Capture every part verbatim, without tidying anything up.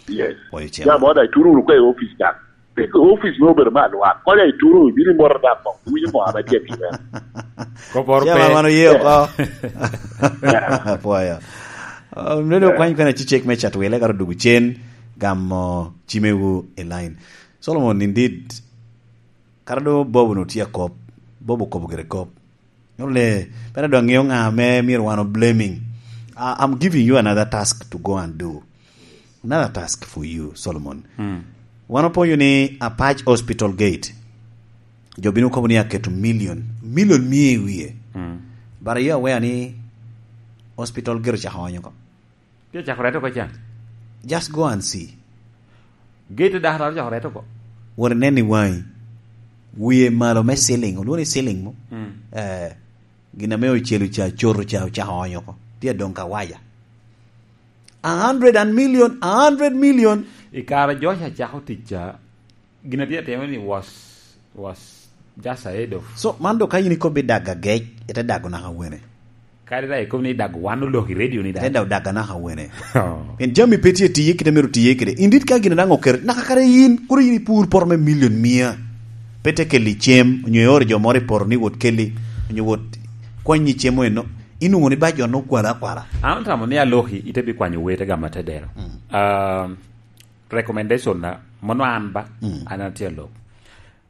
Yes. Pwoyo, Chairman. Jam mo da ituro wunu kwe i office daŋ. Pig office me obedo me alwak. Konya ituro, ibino imoto daŋ mo. Winyo mo ame tye atima. Koporo pe. Chairman, wan oye oko. Yeah. Pwoyo. Um, nene, yeah, okwany kwena cicek me Chatwile, kara odugu cen, gamo cimewu i line. Solomon, indeed, kara do Bob no tye akop, Bob okobo gire kop. Nyuto ni, pe adwa ŋeo ŋa ame myero wan o blaming. I, I'm giving you another task to go and do. Another task for you, Solomon. Mm. Wan opwonyo ni Apac Hospital Gate, jo bino kobo ni aketo million, million mia i wie. Mm. But are you aware ni hospital gate ocako onyo oko? Pi ocako reto oko can? Just go and see. Gate daktari ocako reto oko. Wot inen i waŋi. Wie malo me ceiling, olwongo ni ceiling mo? Mm. Eh, gin ame ocelo ca, coto ca, ocako onyo oko. Tye adong kawaja. A hundred and million, a hundred million. I kare Josh acako tic ca, gin a tye atimo ni was, was just ahead of. So, man dok ka in ikobbi dago agec, ite dago naka wene? Kadi daŋ ikobo ni dago wan olok i radio ni daŋ. Ite dago dago naka wene? Oh. Pien jami pe tye tiye kite myero tiye kede. Indit ka gin daŋ oket, naka kare in, kodi in ipur poto me million mia. Pe te kelli cem, onyo ioro jo moro i poto ni wot kelli, onyo wot kwanyi cem eno. Inwoŋo ni ba jo no okwalo akwala. An atamo ni aloki ite bi kwanyo wete gama te dero. Mm. Um, recommendation na, mono an ba, mm, an atye alok.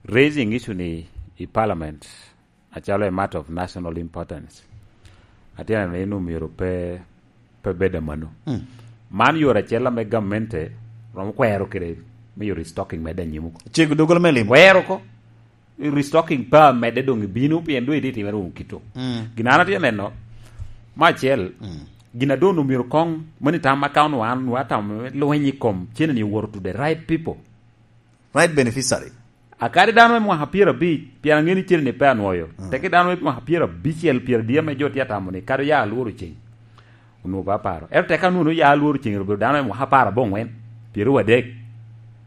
Raising issue ni i parliament, acalo a matter of national importance. Atye neno ni omyero pe, pe bed amano. Mm. Man yore acel ame gamente romo kwero kede me yore stocking medde anyim oko. Cego doggola me limo. Kwero oko. I restocking pa medde doŋ ibino, pien doŋ itye timere wunu kito. Mm. Gin an atye neno, me acel, mm, gin a doŋ omyero koŋ, mani tam account wan, wa tam lweny i kom cene ni owoto to the right people. Right beneficiary. A kadi dano me mwaka pyerabic, pien aŋeo ni cene ni pe anwoyo. Mm. Teke dano me mwaka pyerabicel, pyeradit ame jo tye atamo ni, kadi oya alworo ceng, onwoŋo pe aparo. Ento teke anwoŋo oya alworo ceng, obedo dano me mwaka apar aboŋwen, pyeraryo adek,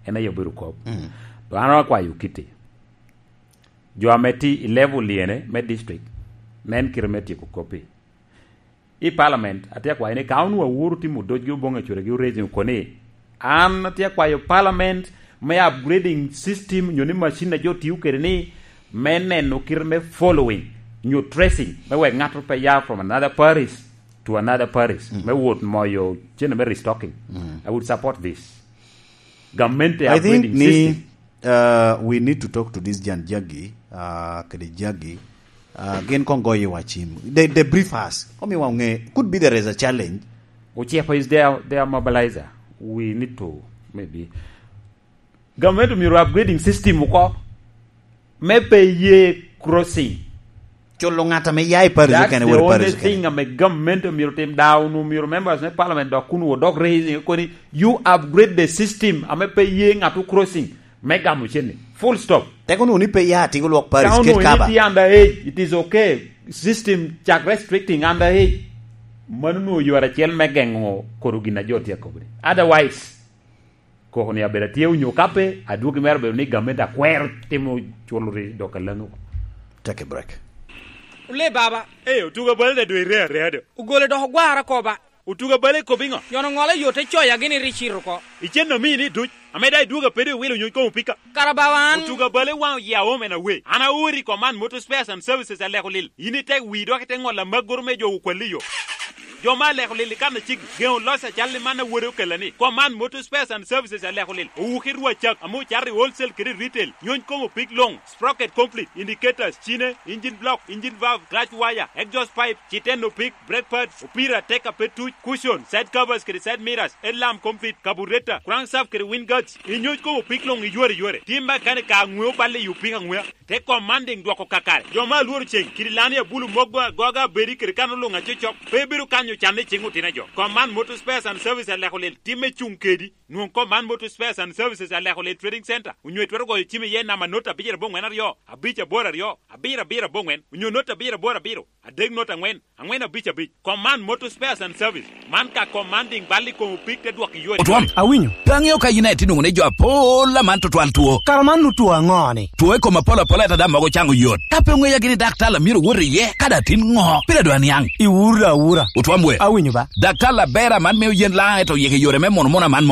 en aye obedo kop. Mm. To an akwayo kitti. Jo ame tye i level lyene me district, nen kite me tyeko kop-pi. I parliament, atye akwayo ni ka onwoŋo awuro timo dojgi oboŋo acuregi oracing oko ni, an atye akwayo parliament me upgrading system, nyo ni macin a jo tio kede ni, me neno kite me following, nyo tracing, me wek ŋato pe ya from another parish to another parish, mm, me wot moyo cene me restocking. Mm. I would support this. Gamente I think upgrading ni, system. Uh, we need to talk to this Jan Jagi, uh, kede Jagi. Uh, gin koŋ goyo wa cim. They, they brief us. Omiwa ŋe, could be there is a challenge. Uchepo is their, their mobilizer. We need to, maybe. Gamente myero upgrading system oko. Me pe ye crossing. Culo ŋat ame ya i parish okene, wot i parish okene. That's the only thing ame government myero tim. Daŋ onwoŋo myero members me parliament dok kun odok raising, koni, you upgrade the system ame pe ye ŋat o crossing me gamo cene. Full stop. Teko onwoŋo ni pe ya atiko lwok parish, ket kaba. Ka onwoŋo ni tye under age, it is okay. System cak restricting under age. Mano onwoŋo yore acel me geŋo koro gin a jo tye akobo ni. Otherwise, koko ni abedo atye onyo ka pe, adwogi mere obedo ni gamente akwero timo culo ri dok alaŋo. Take a break. Ole baba. Eh, otuga bale da dwe ire area do. Ogole dok ogwara koba. Otuga bale kop iŋo? Yono ŋolo yo te coya gini ri cito oko. Icen omini duc. Ame da idwoga pede iwilo nyony komo pika. Kara bawa an. Otuga bale waŋ oya omen awe. An aori Command Motor Spares and Services aleko lil. In itek wi dok ite ŋolo amagoro me jo okwalli yo. Jo ma aleko lil i kan aciki, geŋo loc acal i man a wode okella ni, Command Motor Spares and Services aleko lil, owuki rwa cak, ame ocato i wholesale kede i retail, nyony komo pig loŋ, sprocket complete, indicators, cine, engine block, engine valve, clutch wire, exhaust pipe, citeno pig, brake pads, opira, teka pe tuc, cushion, side covers kede side mirrors, headlamp complete, carburetor, crankshaft kede wind guards, inyony komo pig loŋ iyore yore. Tim makanika aŋweo balle i opika aŋwea. Te commanding dwoko kakare. Jo ma alworo ceng, kidi lani abulu mogo agoga abedi kede kan oluŋ acocok, pe bedo kanyo canne i ceng otino jo. Command Motor Spares and Service aleko lel timme cuŋ kedi. Nwoŋ Command Motor Spares and Services aleko lel Trading Center, onyo itwero goyo cim iye namba not abicel aboŋwen aryo, abic aboro aryo, abiro abiro aboŋwen, onyo not abicel aboro abiro, adek not aŋwen, aŋwen abic abic. Command Motor Spares and Service. Man ka commanding bal i kom opik te dwok i yore. Otwom, awinyo. Pe aŋeo ka yin aye tye nwoŋo ni jo apol aman tutwal two. Kara man nu two aŋo ni? Two i kom apol apol ata dam mogo caŋo yot. Ka pe oŋeya gini daktar la myero wot iye, ka da tin ŋo? Pire dwa niaŋ. Iwura awura. Otwom we. Awinyo ba. Daktar la ber aman me oyen la eto yeke yore me mono mono aman